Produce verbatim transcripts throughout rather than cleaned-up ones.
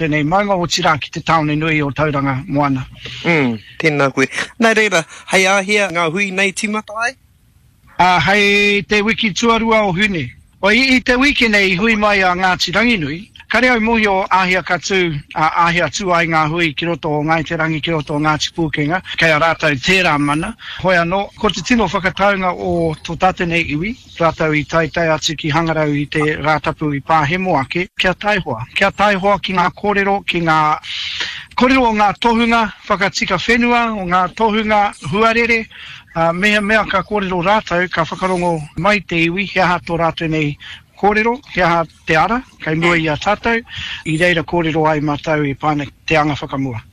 Tēnei maunga, otirā ki te tāone nui o Tauranga Moana. Mm, tēnā koe. Nā reira, hei āhea ngā hui nei tīmata ai? Ā, hei te wiki tuarua o Hune. O, i, i te wiki nei i hui mai a Ngāti Ranginui, kare au mōhio āhea ka tū, ā, āhea tū ai ngā hui ki roto o Ngāi Te Rangi, ki roto o Ngāti Pūkenga, kei a rātou tērā mana. Hoi anō, ko te tino whakataunga o tō tātou nei iwi, Rātou i taetae atu ki Hangarau i te Rātapu i pāhemo ake, kia taihoa. Kia taihoa ki ngā kōrero, ki ngā kōrero o ngā tohunga whakatika whenua, o ngā tohunga huarere, ā, mehemea ka kōrero rātou, ka whakarongo mai te iwi he aha tō rātou nei kōrero, he aha te ara kei mua i a tātou, i reira kōrero ai mātou e pā ana ki te anga whakamua.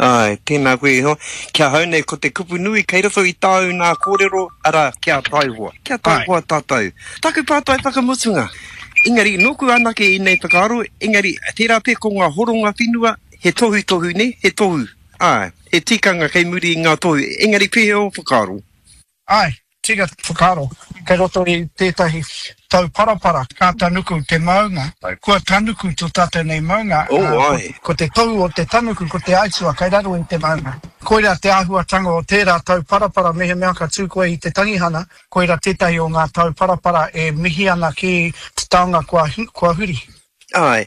Āe, tēnā koe e hoa. Ki ahau nei, ko te kupu nui kei roto i tāu nā kōrero, arā, kia taihoa. Kia taihoa tātou. Taku pātai whakamutunga. Engari, nōku anake ēnei whakaaro, engari, tērā pea ko ngā horonga whenua, he tohutohu, nē, he tohu. Āe, he tikanga kei muri i ngā tohu. Engari, pēhea ō whakaaro? Āe, tika te whakaaro. Kei roto i tētahi tauparapara ka tanuku te maunga, kua tanuku tō tātou nei maunga, ā, ko te tohu o te tanuku ko te aituā kei raro i te maunga. Koirā te āhuatanga o tērā tauparapara mehemea ka tū koe i te tangihana, koirā tētahi o ngā tauparapara e mihi ana ki te taonga kua, kua huri. Āe.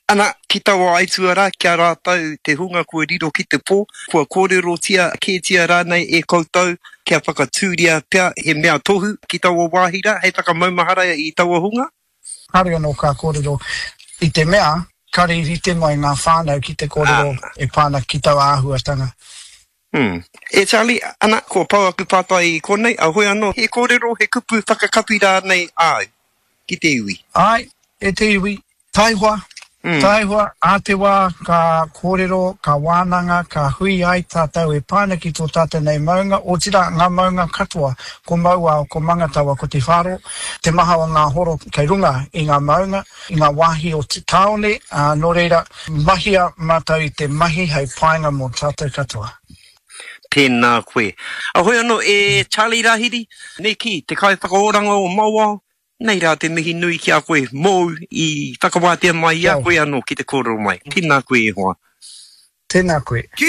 Ana, ki taua aituā rā, ki a rātou te hunga kua riro ki te pō, kua kōrerotia kētia rānei e koutou kia whakatūria pea he mea tohu ki taua wāhi rā hei whakamaumahara i taua hunga? Kāore anō ka kōrero i te mea kāore i rite mai ngā whānau ki te kōrero e pā ana ki taua āhuatanga. Hmm. E Charlie, ana, kua pau aku pātai i konei, a hoi anō, he kōrero, he kupu whakakapi rānei āu ki te iwi? Āe, e te iwi, taihoa, taihoa, ā te wā ka kōrero, ka wānanga, ka hui ai tātou e pā ana ki tō tātou nei maunga, otirā ngā maunga katoa, ko Mauao, ko Mangatawa, ko Te Whāro, te maha o ngā horo kei runga i ngā maunga, i ngā wāhi o te tāone, ā, nō reira, mahia mātou i te mahi hei painga mō tātou katoa. Tēnā koe. Ahoi anō e Charlie Rahiri, me kī, te kaiwhakaoranga o Mauao, Nei rā te mihi nui ki a koe mōu i whakawātea mai i a koe anō ki te kōrero mai. Tēnā koe e hoa. Tēnā koe. Ki